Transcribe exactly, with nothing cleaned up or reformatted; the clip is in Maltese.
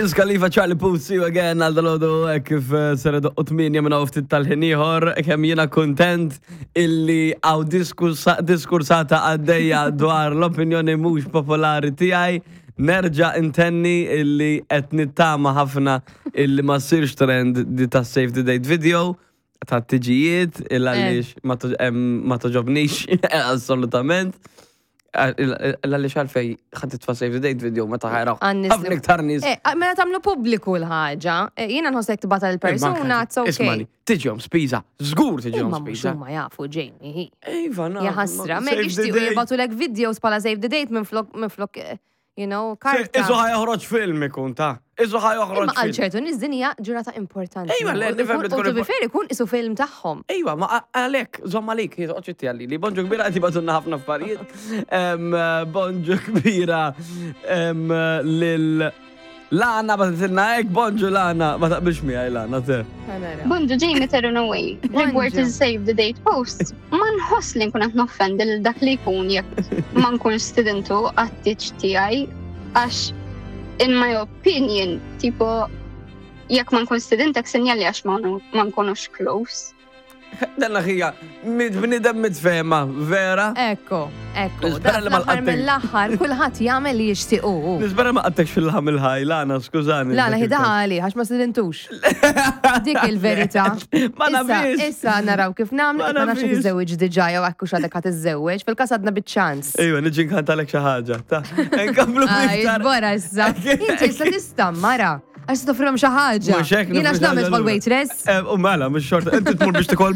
Wiz Khalifa, Charlie Puth, "See You Again" għal dalgħodu kif eh, ser idoqqu tmienja minn ftit tal-ħin ieħor, kemm jiena kontent illi hawn diskursata għaddejja dwar l-opinjoni mhux popolari tiegħi. Nerġa' intenni illi qed nittama ħafna illi ma ssirx trend di ta' save the date video ta' tiġijiet il għaliex ma to- em, ma togħġobnix assolutament. Għaliex għalfejn ħa titfa' save the date video meta ħa jaraw Għan-nies ħafna iktar nies? Eh, mela tagħmlu pubbliku l-ħaġa. Eh, Jiena nħossek tibgħatha l-persuna, it's okay. Ismani, tiġihom spiża, żgur tiġihom Imma mhux spiża. huma jafu, Jamie. Iva, na. Ja ħasra, ma jixtiequ jibagħtulek videos bħala save the date minn flok, minn flok, eh, you know, karta. Isu ħa joħroġ film ikun ta' Isu ħa joħroġ Imma għal film. ċertu nies din hija ġurnata importanti. Ejwa, le, U nifhem li ikun- tkun U to be impor- fair ikun isu film tagħhom. Ejwa, ma għalek, żomm għalik, oċċetti għalli, li bonġu kbira għati bagħtulna ħafna affarijiet. Em, Bonġu kbira em, lil Lana bagħtitilna hekk, bonġu Lana, ma taqbilx miegħi Lana te. Bonġu Jamie Terunaway, rigward Bonġu. il-save the date post, ma nħoss li nkun qed noffendi lil dak li jkun jekk ma nkunx stidintu għat-tieġ tiegħi għax in my opinion, tipo jekk ma nkun stidintek sinjali għax ma nu- ma nkunux close. Danna ħija, bnidem mitfema, vera? Ekko, ekko. Nispera li ma Fl-aħħar laqattek. mill-aħħar kulħadd jagħmel li jixtiequ. Nispera ma qattekx fil-ħam il-ħaj, Lana, skużani. La, la ħidali, għax ma stidintux. Dik il-verità. Ma Issa, nafix. issa naraw kif nagħmlu, Ma ma nafx jekk nafix. iżżewweġ diġà jew hekk hux għadek ħa tiżżewweġ, fil-każ għadna biċ-ċans. Ejwa, niġi nkantalek xi ħaġa. Ta' nkomplu Aj, iktar. Bora issa. Inti issa tista' mara. Għax toffrilhom xi ħaġa. Mhux hekk Jiena nofri x'nagħmel xi ħaġa bħal lura. waitress? Eh, U mela, mhux xorta, inti tmur biex tikol.